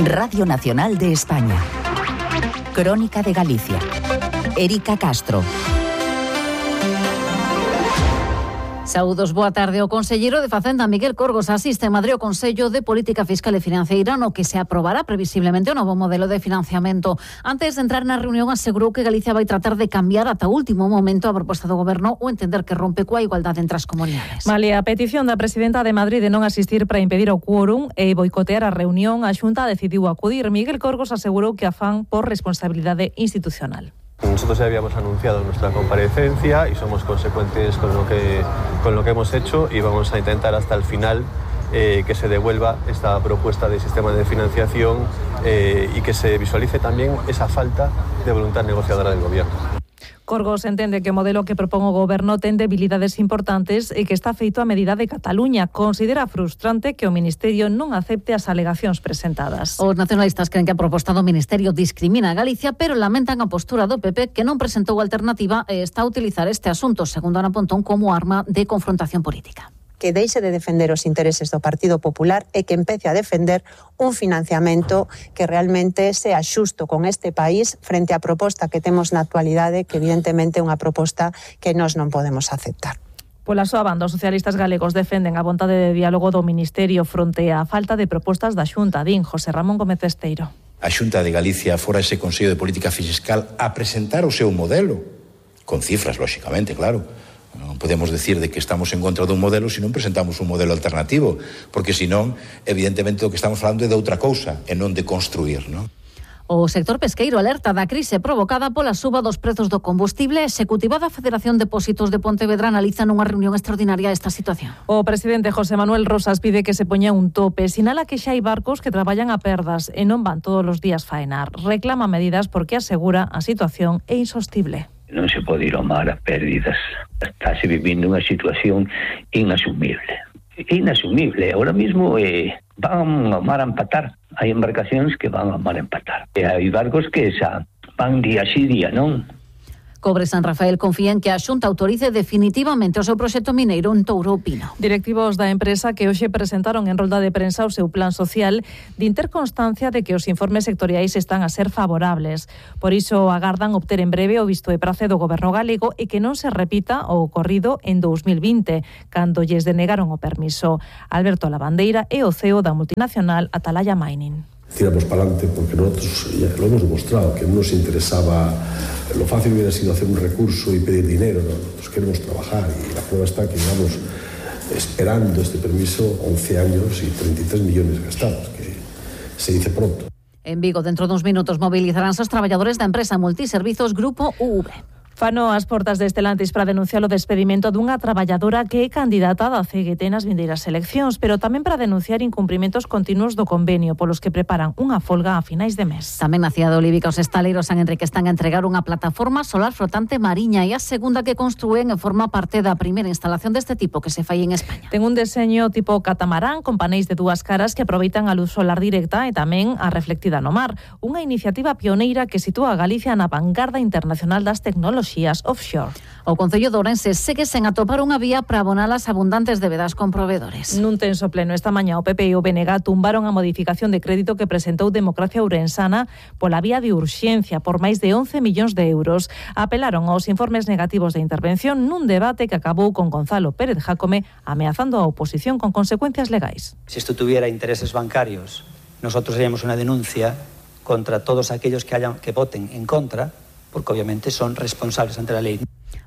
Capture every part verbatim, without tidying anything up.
Radio Nacional de España. Crónica de Galicia. Erika Castro. Saúdos, boa tarde. O conselleiro de Facenda, Miguel Corgos, asiste en Madrid ao Consello de Política Fiscal e Financeira, no que se aprobará previsiblemente o novo modelo de financiamento. Antes de entrar na reunión, asegurou que Galicia vai tratar de cambiar ata o último momento a proposta do Goberno ou entender que rompe coa igualdade entre as comunidades. Vale, a petición da presidenta de Madrid de non asistir para impedir o quórum e boicotear a reunión, a Xunta decidiu acudir. Miguel Corgos asegurou que afán por responsabilidade institucional. Nosotros ya habíamos anunciado nuestra comparecencia y somos consecuentes con lo que, con lo que hemos hecho y vamos a intentar hasta el final eh, que se devuelva esta propuesta de sistema de financiación eh, y que se visualice también esa falta de voluntad negociadora del Gobierno. Corgos entende que o modelo que propón o Goberno ten debilidades importantes e que está feito a medida de Cataluña. Considera frustrante que o Ministerio non acepte as alegacións presentadas. Os nacionalistas creen que a proposta do Ministerio discrimina a Galicia, pero lamentan a postura do P P, que non presentou alternativa e está a utilizar este asunto, segundo Ana Pontón, como arma de confrontación política. Que deixe de defender os intereses do Partido Popular e que empece a defender un financiamento que realmente sea xusto con este país frente á proposta que temos na actualidade, que evidentemente é unha proposta que nós non podemos aceptar. Pola súa banda, os socialistas galegos defenden a vontade de diálogo do Ministerio fronte á falta de propostas da Xunta. Din José Ramón Gómez Esteiro. A Xunta de Galicia fora ese Consello de Política Fiscal a presentar o seu modelo, con cifras, lóxicamente, claro. Non podemos decir de que estamos en contra dun modelo se non presentamos un modelo alternativo, porque senón, evidentemente, o que estamos falando é de outra cousa, e non de construir, non? O sector pesqueiro alerta da crise provocada pola suba dos prezos do combustible. A executiva da Federación de Depósitos de Pontevedra analiza nunha reunión extraordinaria esta situación. O presidente José Manuel Rosas pide que se poña un tope. Sinala que xa hai barcos que traballan a perdas e non van todos os días faenar. Reclama medidas porque asegura a situación é insostible. Non se pode ir ao mar a pérdidas. Estáse vivindo unha situación inasumible. Inasumible. Ahora mismo eh, van ao mar a empatar. Hai embarcacións que van ao mar a empatar. E hai barcos que xa van día sí día, non? Cobre San Rafael confía en que a Xunta autorice definitivamente o seu proxecto mineiro en Touro Pino. Directivos da empresa que hoxe presentaron en rolda de prensa o seu plan social din ter constancia de que os informes sectoriais están a ser favorables. Por iso agardan obter en breve o visto de prace do Goberno galego e que non se repita o ocorrido en dous mil vinte, cando lles denegaron o permiso. Alberto Lavandeira é o C E O da multinacional Atalaya Mining. Tiramos para adelante porque nosotros ya lo hemos demostrado, que no nos interesaba, lo fácil hubiera sido hacer un recurso y pedir dinero, ¿no? Nosotros queremos trabajar y la prueba está que llevamos esperando este permiso once años y treinta y tres millones gastados, que se dice pronto. En Vigo, dentro de uns minutos, movilizaránse os traballadores da empresa Multiservizos Grupo U V. Fano as portas de Estelantis para denunciar o despedimento dunha traballadora que é candidata da C G T nas vindeiras eleccións, pero tamén para denunciar incumprimentos continuos do convenio polos que preparan unha folga a finais de mes. Tamén na cidade de Olívica os estaleiros San Enrique están a entregar unha plataforma solar flotante mariña e a segunda que construen e forma parte da primeira instalación deste tipo que se fai en España. Ten un deseño tipo catamarán con paneis de dúas caras que aproveitan a luz solar directa e tamén a reflectida no mar. Unha iniciativa pioneira que sitúa a Galicia na vanguarda internacional das tecnoloxías offshore. O Concello de Ourense segue sen atopar unha vía para abonar as abundantes debedas con provedores. Nun tenso pleno esta mañá o P P e o B N G tumbaron a modificación de crédito que presentou Democracia Ourensana pola vía de urxencia por máis de once millóns de euros. Apelaron aos informes negativos de intervención nun debate que acabou con Gonzalo Pérez Jácome ameazando a oposición con consecuencias legais. Si esto tuviera intereses bancarios, nosotros haríamos una denuncia contra todos aquellos que hayan que voten en contra, porque obviamente son responsables ante la ley.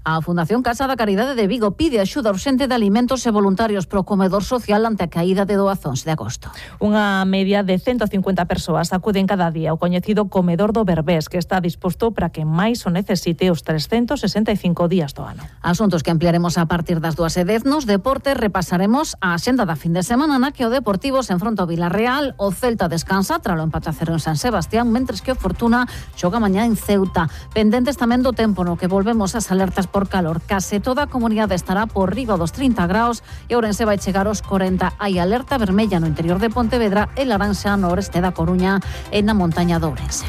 A Fundación Casa da Caridade de Vigo pide axuda urxente de alimentos e voluntarios pro comedor social ante a caída de doazóns de agosto. Unha media de ciento cincuenta persoas acuden cada día ao coñecido comedor do Berbés, que está disposto para que máis o necesite os trescentos sesenta e cinco días do ano. Asuntos que ampliaremos a partir das dúas e dez nos deportes. Repasaremos a axenda da fin de semana na que o Deportivo se enfronta ao Villarreal, o Celta descansa tralo empate a cero en San Sebastián, mentres que o Fortuna xoga mañá en Ceuta. Pendentes tamén do tempo no que volvemos ás alertas por calor. Case toda a comunidade estará por riba dos trinta graus e Ourense vai chegar aos corenta. Hai alerta vermella no interior de Pontevedra e laranxa no oeste da Coruña e na montaña de Ourense.